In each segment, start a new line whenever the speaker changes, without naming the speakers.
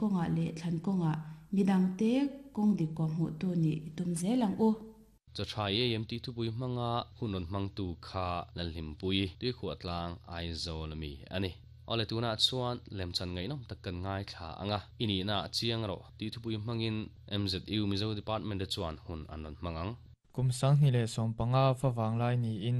kawngah leh thlan kawngah midangte kawng dik kawhhmuhtu nih i tum zel ang u.
Chaw tha i ei em tih thupui hmanga hun rawn hmangtu kha Lalhlimpui, Tuikhuahtlang, Aizawl ami a ni. Awle tunah chuan lemchan ngaihnawm tak kan ngaithla ang a, i nihna ah chiang rawh tih thupui hmangin MZU Mizo Department te chuan hun an rawn hmang ang.
Kum 2015 favang lai niin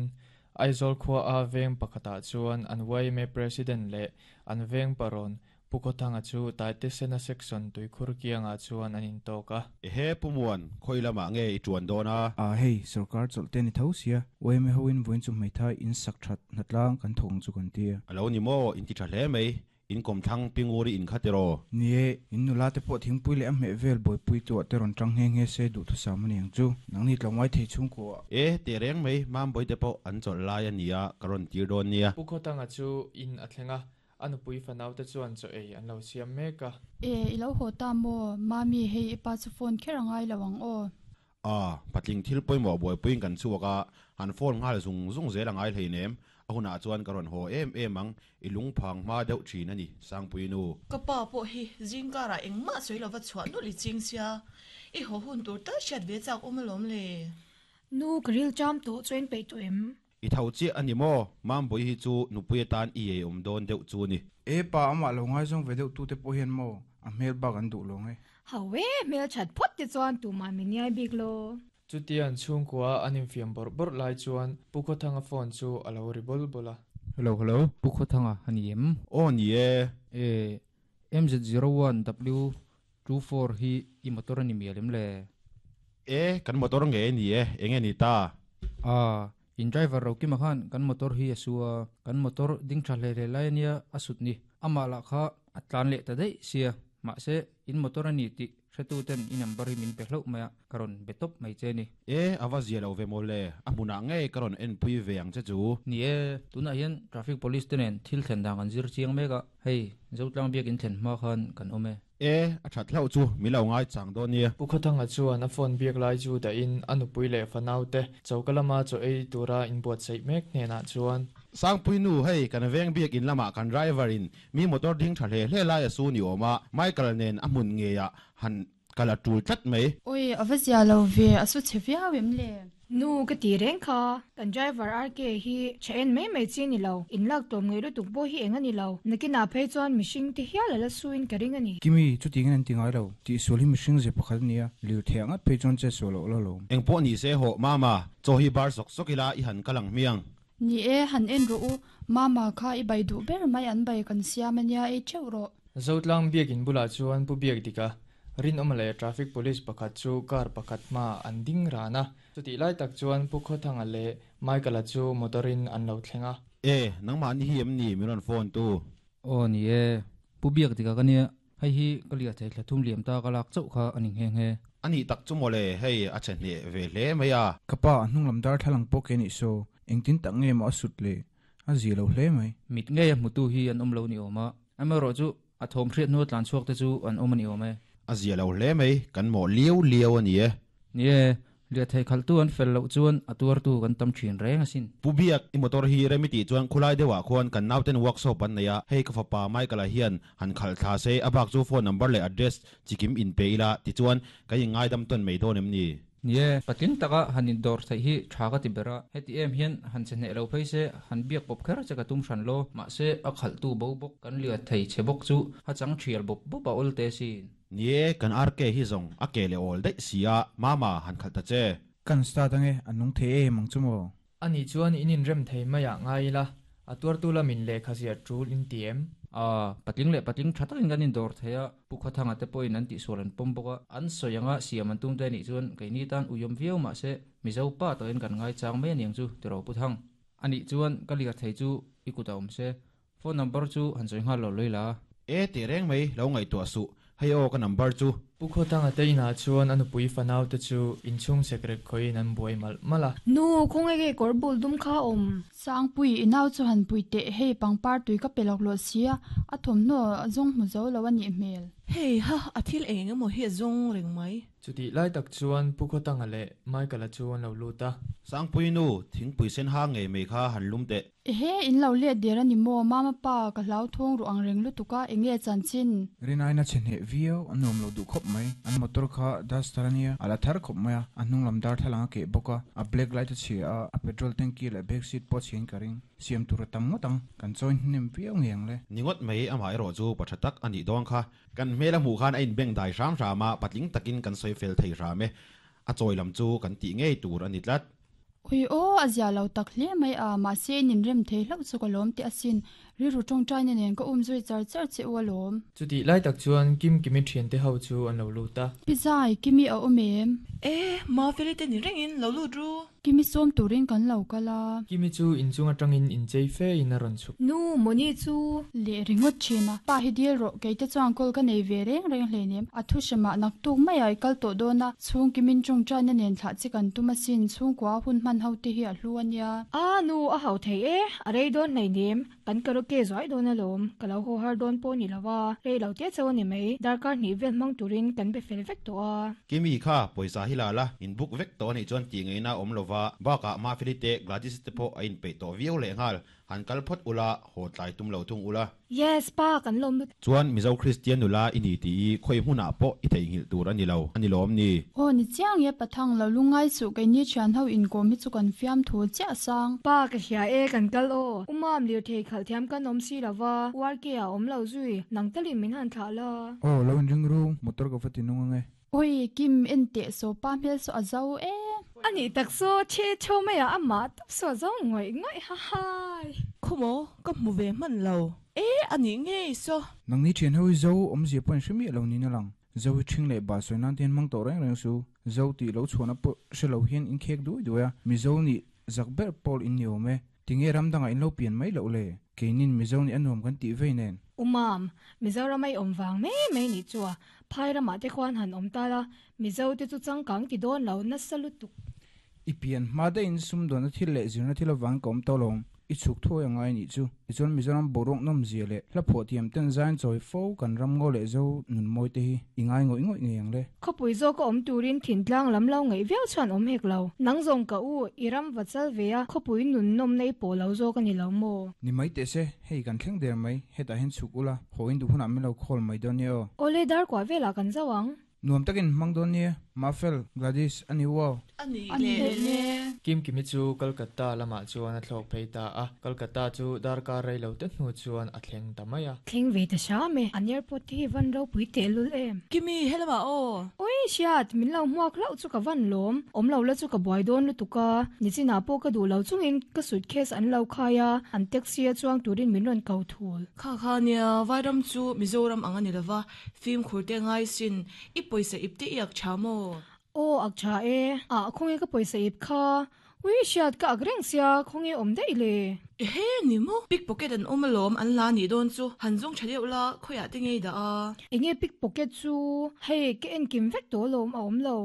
Aizawl khua a veng pakhatah chuan an yma President leh an veng parawn Pu Khawthanga chu Taitesena Section tuikhur kiangah chuan an intawk a.
Ehe Pu Muan, khawi lamah nge i tuan dawn a?
A hei, sorkar chawlh te ni tho sia, yma hoin vawiin chu hmeithai in sak that hnatlang kan thawk ang chu kan ti a.
A lo ni maw, in ti tha hle mai, in kawmthlang Pinguri in kha tiraw?
Ni e, in nula te pawh thingpui leh a hmeh vel buaipui tuah te rawn tang nghe nghe se duhthusam a ni ang chu. Nangni tlawmngai thei chhungkua.
E, teh reng mai, Mambawi te pawh an chawlh lai a nia, ka rawn tir dawn nia.
Pu Khawthanga chu in a thleng a, A nupui fanau te chuan chaw ei an lo siam mek a.
E, i lo haw ta maw? Mami, hei i pa chu phone kher a ngai lo ang aw.
A, patling thil pawimawh buaipuiin kan chhuak a, han phone nghal zung zung zel a ngai hleinem. A hunah chuan ka rawn haw em em ang, i lungphang hma deuh thin a ni, Sangpui nu.
Ka pa pawh hi zingkarah engmah sawi lova chhuah nulh i ching sia, i haw hun tur tal hriat ve chak awm alawm le.
Nu, ka ril cham tawh chuan in peih tawh em?
I tho chiah a ni maw? Mambawi hi chu nupui atan i ei awm dawn deuh chu ni.
E pa, amah lo ngaizawng ve deuh tute pawh hian maw a hmel bak an duh lo nge?
Ho e, hmel that phawt te chuan tumah min iai bik lo.
Chutia an chhungkua an infiam bawrh bawrh lai chuan Pu Khawthanga phone chu a lo ri bawl bawl a.
Hello hello, Pu Khawthanga a ni em?
Aw ni e.
E, MZ01 W24 hi i motor a ni mial em le?
E, kan motor nge ni e, eng nge ni ta?
A, in driver Rokima khan kan motor hi a su a, kan motor ding tha hle hle lai a nia a sut ni. Amah lah kha a tlan leh ta daih sia, mahse in motor a ni tih hretu ten i number hi min pe hlauh mai a, ka rawn be tawp mai che ni.
E, a va zia lo ve maw le, a hmunah ngei ka rawn enpui ve ang che chu.
Ni e, tunah hian traffic police te nen thil thlen dan kan zir chiang mek a, hei Zotlang biak in thlen hma khan kan awm e.
E, a that hlauh chu min lo ngai chang dawn nia.
Pu Khawthanga chuan a phone biak lai chu dahin a nupui leh fanaute choka lama chaw ei tura inbuatsaih mek hnenah chuan.
Sangpui nu, hei kan veng biak in lamah kan driver in mi motor ding tha hle hle lai a su ni awm a, Michael nen a hmun ngeiah han kal a tul tlat mai.
Oi, a va zia lo ve, a su chhe viau em le?
Nu ka ti reng kha, kan driver RK hi tha en mai mai chi a ni lo, in lak tawm ngei lutuk pawh hi eng a ni lo, nakinah phei chuan mihring te hial a la suin ka ring a ni.
Kimi, chutiangin an ti ngai lo, tihsual hi mihring ze pakhat a nia, lirthei ang ngat phei chuan chet sual loh la lawm.
Engpawh ni se hawh Mama, chaw hi bar sawk sawk ila i han kal ang hmiang.
Ni e, han en rawh u, Mama kha i bai duh ber mai an bai kan siam a nia ei teuh rawh.
Zotlang biakin bulah chuan Pu Biakdika, Rinawma leh Traffic Police pakhat chu car pakhat hmaah an ding ran a. Chutih lai tak chuan Pu Khawthanga leh Michael-a chu motor-in an lo thleng a.
E, nangmah ni hi em ni min rawn phone tu?
Aw ni e, Pu Biakdika ka nia, hei hi ka liathei thla thum liam ta ka lak chauh kha a ni nghe nghe.
A nih tak chu mawle, hei a che hneh ve hle mai a.
Ka pa, a hnung lam darthlalang pawh ke nih saw, engtin tak nge maw a sut le? A zia lo hle mai.
Mit ngei a hmutu hi an awm lo ni awm a, amaherawh chu a thawm hriat hnu a tlan chhuak te chu an awm a ni awm e.
A zia lo hle mai, kan mawh liau liau a ni e.
Ni e, lirthei khalhtu an fel loh chuan a tuartu kan tam thin reng asin.
Pu Biak, i motor hi rem i tih chuan khulai deuhah khuan kan nauten workshop an nei a, hei ka fapa Michael-a hian han khalh thla se, a bak chu phone number leh address chikim inpe ila tichuan kan inngaidam tawn mai dawn em ni?
Ni e, patling taka han indawr theih hi tha ka ti ber a, heti em hian han che hneh lo phei se, han biak pawp kher che ka tum hran lo, mahse a khalhtu bo bawk kan liat thei che bawk chu a chang thial bawp bawp a awl te sin.
Ni e, kan RK hi zawng a ke leh awl daih si a, Mama, han khalh ta che.
Kan start ange, a nung thei em ang chu maw?
Ani chuan in inrem thei maiah ngai ila, a tuartu lamin lehkha ziah tul in ti em?
A, patling leh patling tha takin kan indawr thei a, Pu Khawthanga te pawhin an tihsual an pawm bawk a, an sawi anga siam an tum te anih chuan keini tan uiawm viau mahse Mizo pa tawhin kan ngaichang mai aniang chu ti ro Pu Thang. Anih chuan ka lir thei chu i kut a awm se, Phone number chu han sawi nghal lo loi la.
E teh reng mai, lo ngaihtuah suh. Hei aw ka number chu.
Pu Khawthanga te inah chuan a nupui fanau te chu inchhung sekrek khawiin an buai malh malh a.
Nu, khawnge ke kawr bul dum kha a awm?
Sangpui, i nau chu han pui teh, hei pangpar tui ka pe lawk lawh sia, a thawmhnaw a zawng hmu zo lo a nih hmel.
Hei ha, a thil eng eng emaw hi a zawng reng mai.
Chutih lai tak chuan Pu Khawtanga leh Michael-a chu an lo lut a.
Sangpui nu, thingpui sen ha ngei mai kha han lum teh.
Ehe, in lo let der a ni maw? Mama pa, ka hlauthawng ruh ang reng lutuk a, eng nge chanchin?
Rinaina chhe hneh viau, a nuam lo duh khawp mai. An motor kha duster a nia, a la thar khawp mai a, a hnung lam darthlalang a keh bawk a, a black light a chhia a, a petrol tanky leh back seat pawh a chhiain ka ring. Siam tur a tam ngawt ang, kan chawi hnem viau ngei ang le.
Ni ngawt mai, amah erawh chu pa tha tak a nih dawn kha. Kan hmel a hmuh khan a inbeng dai hram hram a, patling takin kan sawi fel thei hram e. A chawi lam chu kan tih ngei tur a ni tlat.
Ui aw, a zia lo tak hle mai a, mahse in inrem thei hlauh chu ka lawm teh asin. Rilru tawngtaina nen ka um zui char char che u alawm.
Chutih lai tak chuan Kim Kimi thiante ho chu an lo lut a.
Pi Zai, Kimi a awm em?
E, Mafeli te ni rengin lo lut ru.
Kimi sawm turin kan lo kal a.
Kimi chu inchung atangin inchei fe in a rawn chhuk.
Nu, Moni chu.
Leh ringawt thin a. Pa hi dil rawh, keite chuan call ka nei ve reng reng hleinem. A thu hre mah naktuk mai a i kal tawh dawn a. Chhung Kimin tawngtaina nen thlah che kan tum asin, chhungkua hun hman ho te hi a hlu a nia.
A, nu, a hau thei e, a rei dawn hleinem. Kan karaoke zuai dawn alawm, ka lo haw har dawn pawh ni lo a, rei lo te chauh a ni mai, darkar hnih vel hmang turin kan be fel vek tawh a.
Kimi kha pawisa hi la la, in book vek tawh a nih chuan tih ngaihna a awm lo va, bakah Mafeli te Gladys te pawh a inpeih tawh viau lehnghal, han kal phawt ula, haw tlai tum lo thung ula.
Yes pa kan lawm lut.
Chuan Mizo Kristian nula i ni tih i khawi hmunah pawh i theihnghilh tur a ni lo, a ni lawm ni?
Aw ni chiang e Pathang lo lungngai suh keini thian ho inkawm hi chu kan fiam thu chiah sang.
Pa ka hria e kan kal aw. U Mam lirthei khalh thiam kan awm si lo va, URK ah awm lo zui, nang talin min han thlah la.
Aw lo inring ru, motor ka va ti nung ange.
Oi Kim en teh saw pa hmel saw a zo e.
A nih tak saw chhe chho mai ah amah tawp saw a zo ngawih ngawih hahai.
Khumaw ka hmu ve hman lo e a nih ngei saw.
Nangni thian ho hi zo awmzia pawh in hre miah lo niin a lang. Zo hi ṭhing leh bah sawi nan te hian hmang tawh reng reng su. Zo tih lo chhuahna pawh hre lo hian in khek duai duai a, Mizo nih zak ber pawl in ni awm e. Tinge ram dangah in lo pian mai loh le? Keinin Mizo nih a nuam kan tih vei nen.
Umam, Mizoram a i awm vang mai mai nih chu a, Phai ramah te khuan han awm ta la, Mizo te chu changkang ti dawn lo nasa lutuk.
I pian hma daihin sumdawnna thil leh zirna thil avangin ka awm tawh lo. I chhuk thuai a ngai nih chu. Tichuan Mizoram boruak nawmzia leh hla phuah thiam ten zain chawi fo kan ram ngaw leh zo nun mawi te hi i ngai ngawih ngawih ngei ang le.
Khawpui zawk a awm turin thintlang lam lo ngaih viau chuan awm hek lo. Nang zawng ka u, i ram va chal ve a, khawpui nun nawmna i pawh lo zawk a ni lo maw?
Ni mai teh se, hei kan thleng der mai, hetah hian chhuk ula, haw in duh hunah min lo call mai dawn nia aw.
Awle dar kuah velah kan zauh ang.
Nuam takin hmang dawn nia, Mafel, Gladys, a ni uau.
A ni leh le.
Kim Kimi chu Kolkata lamah chuan a thlawk phei ta a, Kolkata chu darkar rei lo te hnu chuan a thleng ta mai a.
Thleng ve ta hram e, an airport te hi van ropui tehlul em.
Kimi, helamah aw.
Oi, hriat, min lo hmuak hlauh chu ka van lawm. Awm lo la chu ka buai dawn lutuk a, nichinah pawh ka duh lo chungin ka suitcase an lo khai a, an taxi a chuang turin min rawn ko thul.
Kha kha nia, Vairam chu Mizoram ang a ni lova, Fimkhur te ngai sin, i pawisa ip te i ak tha maw?
Aw ak tha e, ah khawnge ka pawisa ip kha, ui hriat ka ak reng sia khawnge awm daih le.
Ehe ni maw, pickpocket an awm alawm an la nih dawn chu, han zawng tha deuh la, khawiah te ngei dah a.
Enge pickpocket chu, hei ka enkim vek tawh alawm a awm lo.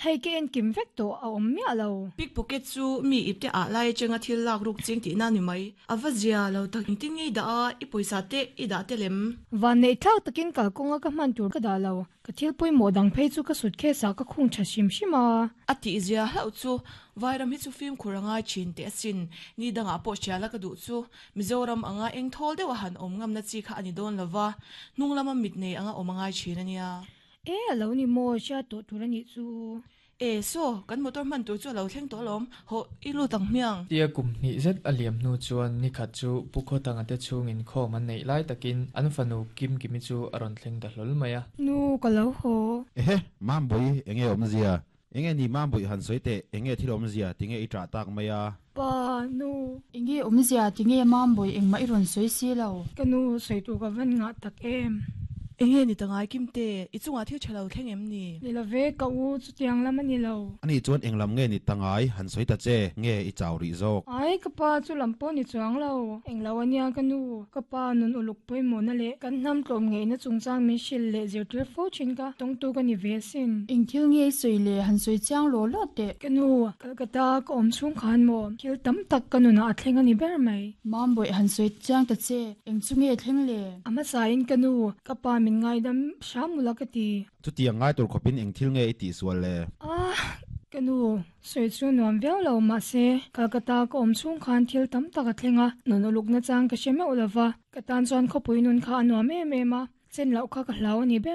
Hei ka enkim vek tawh a awm miah lo.
Pickpocket chu mi ipte ah lai atanga thil lak ruk ching tihna ni mai. A va zia lo tak engtin nge i dah a, i pawisa te i dah tel em?
Vanneih thlak takin kalkawnga ka hman tur ka dah lo. Ka thil pawimawh dang phei chu ka suitcase ah ka khung tha hrim hrim a.
A tih zia hlauh chu Vairam hi chu fimkhur a ngai thin teh asin. Ni dangah pawh hriala ka duh chu Mizoram anga eng thawl deuh a han awm ngamna chi kha a ni dawn lova, hnung lama mit nei anga awm a ngai thin a nia.
E a lo ni maw, hriat tawh tur a nih chu.
E saw, kan motor hman tur chu a lo thleng tawh alawm, hawh i lut ang hmiang.
Tia kum hnih zet a liam hnu chuan nikhat chu Pu Khawtanga te chhungin khawm an neih lai takin an fanu Kim Kimi chu a rawn thleng ta hlawl mai a.
Nu, ka lo haw.
Ehe, Mambawi, enge awmzia? Enge ni Mambawi han sawi teh, enge thil awmzia, tinge i ṭah tak mai a?
Pa, nu.
Enge awmzia, tinge Mambawi engmah i rawn sawi si lo?
Ka nu, sawi tur ka van ngah tak em?
Enge ni ta ngai Kimte, i chungah thil ṭha lo thleng em ni?
Ni lo ve, ka u, chutiang lam a ni lo.
Ani chuan eng lam nge ni ta ngai, han sawi ta che, nge i chau rih zawk?
Ai, ka pa chu lam pawh ni chuang lo. Eng lo a nia ka nu, ka pa nun uluk pawimawhna leh kan hnam tlawm ngeihna chungchang min hrilh leh zirtir fo thin ka tawngtu ka ni ve asin.
Eng thil nge i sawi le, han sawi chiang law law teh.
Ka nu, Kolkata ka awm chhung khan maw thil tam tak ka nunah a thleng a ni ber mai.
Mambawi han sawi chiang ta che, eng chu nge thleng le?
A hmasain ka nu, ka pa min ngaidam hram ula ka ti.
Chutiang ngai tur khawpin eng thil nge i tihsual le?
Ah, ka nu, sawi chu nuam viau lo mahse Calcutta ka awm chhung khan thil tam tak a thleng a, nun uluk nachang ka hre meuh lova, ka tan chuan khawpui nun kha a nuam em em a, chen loh kha ka hlau a ni ber.